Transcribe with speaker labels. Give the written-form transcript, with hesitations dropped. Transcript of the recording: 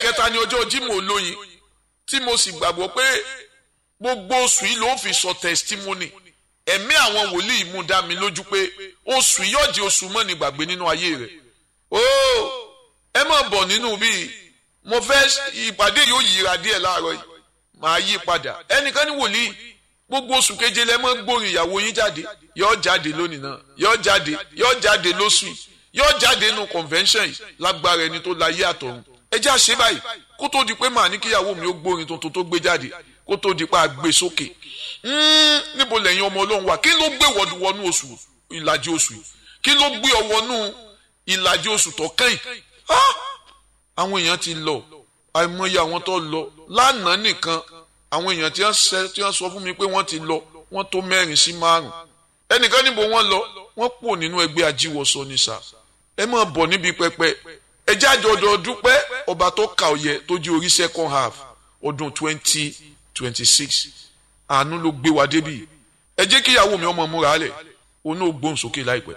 Speaker 1: Ẹlẹ́ẹ̀kẹta ni ọjọ́ Jímọ̀ Olóyin, tí mo sì gbàgbọ́ pé gbogbo oṣù yìí ló fi sọ testimony. Ẹ̀mí àwọn wòlíì mú dá mi lójú pé oṣù yìí yóò di oṣù mọ́ni gbàgbé nínú ayé rẹ̀. Ooo, ẹ má bọ̀ nínú bíi mo fẹ́ ìpàdé yóò yíra díẹ̀ láàárọ̀ yìí, màá yí padà. Ẹnìkan ní wòlíì, gbogbo oṣù keje lẹ mọ́ gbórin ìyàwó yín jáde, yóò jáde lónìí náà, yóò jáde, yóò jáde lóṣù yìí, yóò jáde nínú convention yìí lágbára ẹni tó láyé àtọ̀run. Ẹ jẹ́ àṣẹ báyìí kó tó di pé màá ní kíyàwó mi ó gbórin tuntun tó gbé jáde, kó tó di pé a gbé sókè. Níbo lẹ́yìn ọmọ Ọlọ́run wà? Kí ló gbé wọnú oṣù ìlàjì oṣù yìí? Kí ló gbé ọ wọnú ìlàjì oṣù tó kẹ́yìn? Àwọn èèyàn ti lọ, àìmọye àwọn tó lọ lánàá nìkan, àwọn èèyàn tí wọ́n sọ fún mi pé wọ́n ti lọ, wọ́n tó 4 sí 5. Ẹnìkan níbo wọ́n lọ, wọ́n pò nínú ẹgbẹ́ ajíwọsọ ní sà. Ẹ máa bọ̀ níbi pẹpẹ, ẹ jáde ọdọ dúpẹ́ ọba tó kà ọyẹ tó di orí second half ọdún 2026. Àánú ló gbé wa débi. Ẹ jẹ́ kíyàwó mi ọmọ múra lẹ̀, òun náà gbóhùn sókè láìpẹ́.